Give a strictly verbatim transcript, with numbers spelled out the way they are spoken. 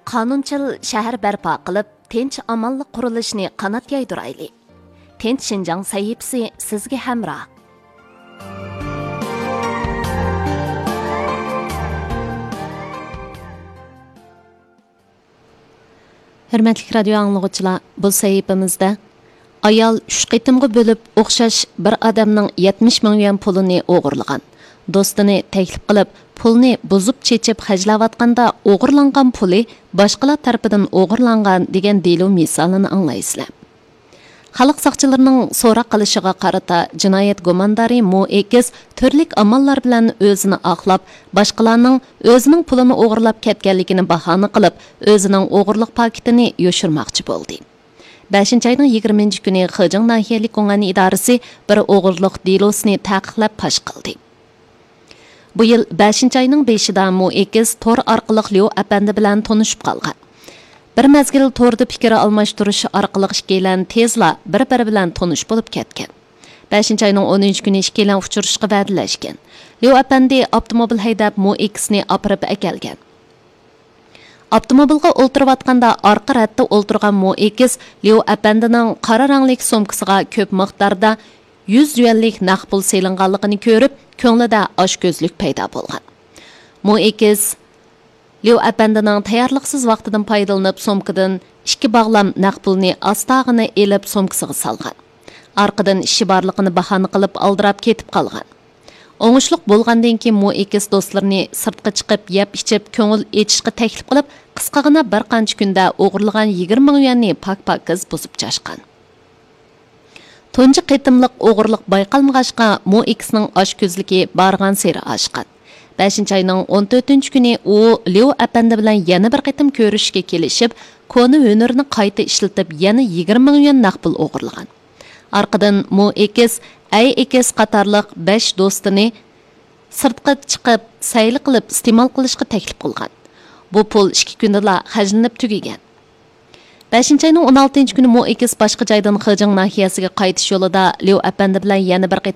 قانۇنچىل شەھەر بەرپا قىلىپ، تىنچ-ئامانلىق قۇرۇلۇشىنى قانات يايدۇرايلى. تىنچ شىنجاڭ سەھىپىسى سىزگە ھەمراھ. ھۆرمەتلىك رادىيو ئاڭلىغۇچىلار، بۇ سەھىپىمىزدە ئايال ئۈچ قېتىمغا بۆلۈپ ئوخشاش بىر ئادەمنىڭ يەتمىش مىڭ يۈەن پۇلىنى ئوغرىلىغان. دوستىنى تەكلىپ قىلىپ، پۇلنى بۇزۇپ چېچىپ خەجلەۋاتقاندا ئوغرىلانغان پۇلى باشقىلار تەرىپىدىن ئوغرىلانغان دېگەن دېلو مىسالىنى ئاڭلايسىلەر. خەلق ساقچىلىرىنىڭ سوراق قىلىشىغا قارىتا، جىنايەت گۇماندارى مو ئېكىس تۈرلۈك ئاماللار بىلەن ئۆزىنى ئاقلاپ، باشقىلارنىڭ ئۆزىنىڭ پۇلىنى ئوغرىلاپ كەتكەنلىكىنى باھانە قىلىپ، ئۆزىنىڭ ئوغرىلىق پاكىتىنى يوشۇرماقچى بولدى. بەشىنچى ئاينىڭ يىگىرمىنچى كۈنى خېجىڭ ناھىيەلىك گۇڭئەن ئىدارىسى بىر ئوغرىلىق دېلوسىنى تەقىقلەپ پاش قىلدى. بۇ يىل بەشىنچى ئاينىڭ بېشىدا مو ئېكىس تور ئارقىلىق ليۇ ئەپەندى بىلەن تونۇشۇپ قالغان. بىر مەزگىل توردا پىكىر ئالماشتۇرۇش ئارقىلىق ئىككىيلەن تېزلا بىر-بىرى بىلەن تونۇش بولۇپ كەتكەن. بەشىنچى ئاينىڭ ئونىنچى كۈنى ئىككىيلەن ئۇچرىشىشقا ۋەدىلەشكەن. ليۇ ئەپەندى ئاپتوموبىل ھەيدەپ مو ئېكىسنى ئاپىرىپ ئەكەلگەن. ئاپتوموبىلغا ئولتۇرۇۋاتقاندا ئارقا رەتتە ئولتۇرغان مو ئېكىس ليۇ ئەپەندىنىڭ قارا رەڭلىك سومكىسىغا كۆپ مىقداردا يۈز يۈەنلىك نەق پۇل سېلىنغانلىقىنى كۆرۈپ، كۆڭلىدە ئاچكۆزلۈك پەيدا بولغان. مو ئېكىس ليۇ ئەپەندىنىڭ تەييارلىقسىز ۋاقتىدىن پايدىلىنىپ، سومكىدىن ئىككى باغلام نەق پۇلنى ئاستاغىنا ئېلىپ، سومكىسىغا سالغان. ئارقىدىن ئىشى بارلىقىنى باھانە قىلىپ، ئالدىراپ كېتىپ قالغان. ئوڭۇشلۇق بولغاندىن كېيىن، مو ئېكىس دوستلىرىنى سىرتقا چىقىپ، يەپ ئىچىپ، كۆڭۈل ئېچىشقا تەكلىپ قىلىپ، قىسقىغىنا بىر قانچە كۈندە ئوغرىلىغان يىگىرمە مىڭ يۈەننى پاك-پاكىز بۇزۇپ چاشقان. تۇنجى قېتىملىق ئوغرىلىق بايقالمىغاچقا، مو ئېكىسنىڭ ئاچكۆزلۈكى بارغانسېرى ئاشقان. بەشىنچى ئاينىڭ ئون تۆتىنچى كۈنى ئۇ ليۇ ئەپەندى بىلەن يەنە بىر قېتىم كۆرۈشۈشكە كېلىشىپ، كونا ھۈنىرىنى قايتا ئىشلىتىپ، يەنە يىگىرمە مىڭ يۈەن نەق پۇل ئوغرىلىغان. ئارقىدىن مو ئېكىس، ئەي ئېكىس قاتارلىق بەش دوستىنى سىرتقا چىقىپ، سەيلە قىلىپ ئىستېمال قىلىشقا تەكلىپ قىلغان. بۇ پۇل ئىككى كۈندىلا خەجلىنىپ تۈگىگەن. بەشىنچى ئاينىڭ ئون ئالتىنچى كۈنى مو ئېكىس باشقا جايدىن خېجىڭ ناھىيەسىگە قايتىش يولىدا ليۇ ئەپەندى بىلەن يەنە بىر قېتىم